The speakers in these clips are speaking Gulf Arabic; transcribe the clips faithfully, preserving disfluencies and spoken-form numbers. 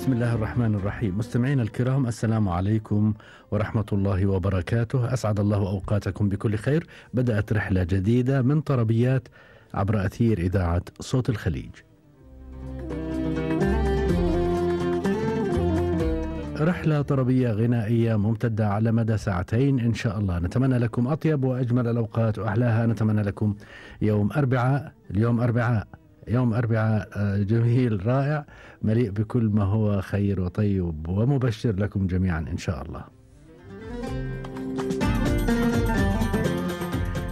بسم الله الرحمن الرحيم. مستمعينا الكرام، السلام عليكم ورحمة الله وبركاته. أسعد الله أوقاتكم بكل خير. بدأت رحلة جديدة من طربيات عبر أثير إذاعة صوت الخليج. رحلة طربية غنائية ممتدة على مدى ساعتين إن شاء الله. نتمنى لكم أطيب وأجمل الأوقات وأحلاها. نتمنى لكم يوم أربعاء، اليوم أربعاء يوم أربعاء جميل رائع مليء بكل ما هو خير وطيب ومبشر لكم جميعا إن شاء الله.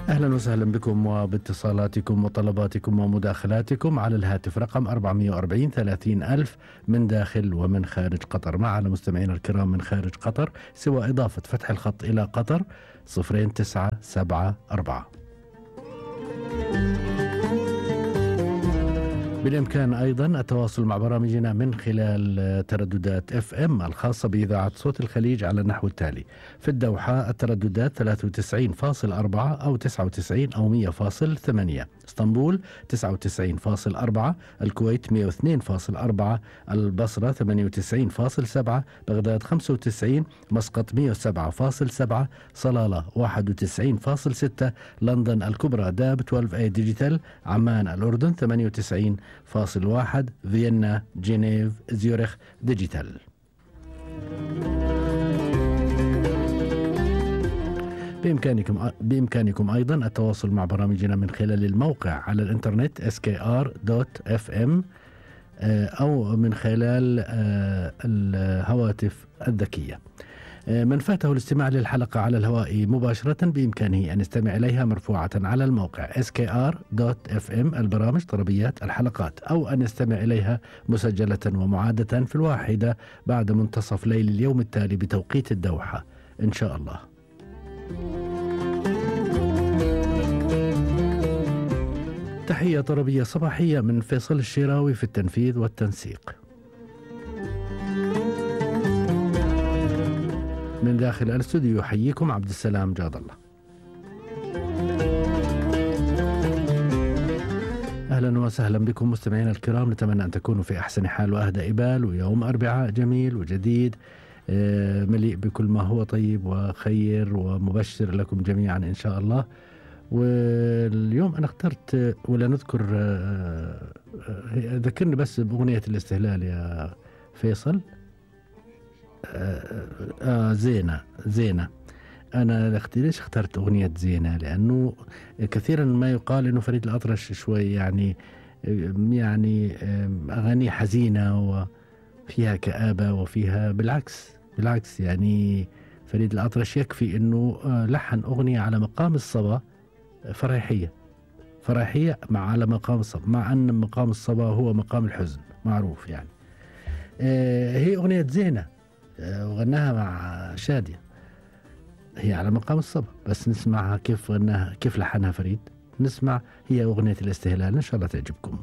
أهلا وسهلا بكم وباتصالاتكم وطلباتكم ومداخلاتكم على الهاتف رقم أربعمائة وأربعين ثلاثين ألف من داخل ومن خارج قطر. معنا مستمعين الكرام من خارج قطر سوى إضافة فتح الخط إلى قطر صفرين تسعة سبعة أربعة. بالإمكان أيضا التواصل مع برامجنا من خلال ترددات اف ام الخاصة بإذاعة صوت الخليج على النحو التالي: في الدوحة الترددات ثلاثة وتسعين فاصل أربعة أو تسعة وتسعين أو مئة فاصل ثمانية، اسطنبول تسعة وتسعين فاصل أربعة، الكويت مئة واثنين فاصل أربعة، البصرة ثمانية وتسعين فاصل سبعة، بغداد خمسة وتسعين، مسقط مئة وسبعة فاصل سبعة، صلالة واحد وتسعين فاصل ستة، لندن الكبرى داب اثنا عشر اي ديجيتال، عمان الأردن ثمانية وتسعين فاصل واحد، فيينا جنيف زيورخ ديجيتال. بإمكانكم بإمكانكم أيضا التواصل مع برامجنا من خلال الموقع على الإنترنت إس كي آر دوت إف إم أو من خلال الهواتف الذكية. من فاته الاستماع للحلقة على الهواء مباشرة بإمكانه أن يستمع إليها مرفوعة على الموقع إس كي آر دوت إف إم البرامج طربيات الحلقات، أو أن يستمع إليها مسجلة ومعادة في الواحدة بعد منتصف ليل اليوم التالي بتوقيت الدوحة إن شاء الله. تحية طربية صباحية من فيصل الشراوي في التنفيذ والتنسيق. من داخل الاستوديو يحييكم عبد السلام جاد الله. أهلا وسهلا بكم مستمعينا الكرام. نتمنى أن تكونوا في أحسن حال وأهدى إبال، ويوم أربعاء جميل وجديد مليء بكل ما هو طيب وخير ومبشر لكم جميعا إن شاء الله. واليوم أنا اخترت ولا نذكر، ذكرني بس بأغنية الاستهلال يا فيصل. آه, آه زينة زينة أنا ليش اخترت أغنية زينة؟ لأنه كثيرا ما يقال أنه فريد الأطرش شوي يعني يعني أغاني حزينة وفيها كآبة وفيها بالعكس بالعكس يعني فريد الأطرش يكفي أنه لحن أغنية على مقام الصبا فريحية فريحية مع على مقام الصبا، مع أن مقام الصبا هو مقام الحزن معروف يعني. آه هي أغنية زينة وغناها مع شادية، هي على مقام الصبا، بس نسمعها كيف غناها كيف لحنها فريد. نسمع هي أغنية الاستهلال إن شاء الله تعجبكم.